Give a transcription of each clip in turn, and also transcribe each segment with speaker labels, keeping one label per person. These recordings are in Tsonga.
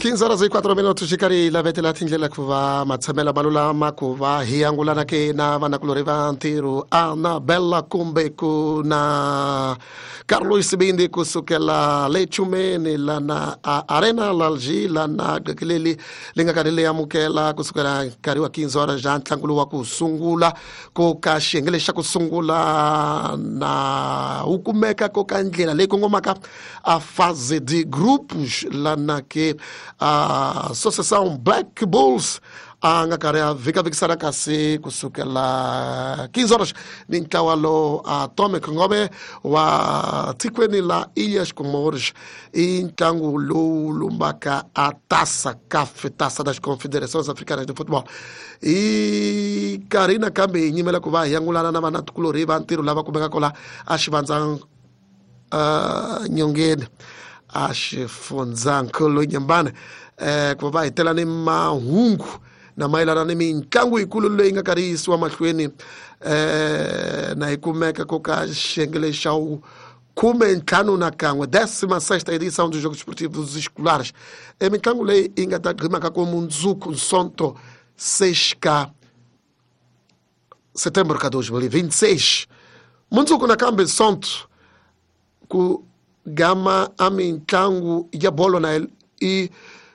Speaker 1: 15 horas e 4 minutos xi karhi hi lavetela tindlela ku va matshamelo ma lulama ku va hi angulana ke na vanakulorhi va ntirho Anabella kumbe ku na Carlos Sibindi kusukela le Chumeni lana a Arena Lalji lana qekeleli li nga karhi li amukela kusukela nkarhi wa 15 horas ja ntlangu lowu wa ku sungula ko ka xiyenge lexi xa ku sungula na wu kumeka ko ka ndlela leyi kongomaka a fase de grupos lana ke a Associação Black Bulls a nga karhi a vhikavikisana kasi kusukela 15 horas ni ntlawa lowu Atomic Ngome wa tikweni la Ilhas Comores i ntlangu lowu lumbaka a Taça CAF, Taça das Confederações Africanas de Futebol. Hi nkarhi nakambe hi nyimela ku va hi angulana na vanatikulorhi va ntirho lava kumekaka la a xivandza nyongeni a xifundzankulu Nyembane ku va va hetela ni mahungu na mayelana ni mitlangu yikulu leyi nga karhi yi yisiwa mahlweni na yi kumeka ko ka xiyenge lexi xa wu 51, 16ª edição dos Jogos Esportivos Escolares. E mitlangu leyi yi nga ta gqimaka ku mundzuku Nsonto 6 ka setembro ka 2026. Mundzuku nakambe Nsonto ku gama a mitlangu ya bolo na i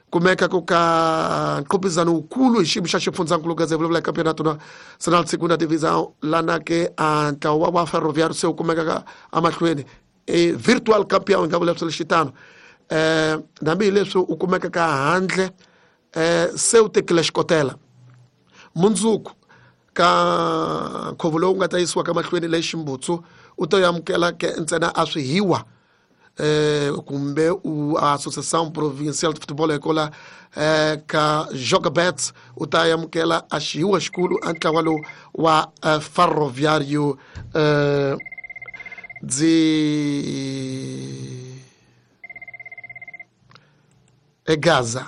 Speaker 1: kumeka ku ka nqopizano wukulu hi xiyimo xa xifundzankulu gaze vulavula hi Campeonato Nacional Segunda Divisão lana ke a ntlawa wa Ferroviário se wu kumekaka emahlweni e virtual campeão hi nga vula swilo xitano hambi hi leswi u kumeka ka handle se u tekile xikotela. Mundzuku ka nkhuvo lowu nga ta yisiwa ka mahlweni le Ximbutsu u ta amukela ke ntsena a swihiwa kumbe u Associação Provincial de Futebol ekola ka Jogabet u ta amukela a xihiwa xikulu a ntlawa lowu wa Ferroviário de Gaza.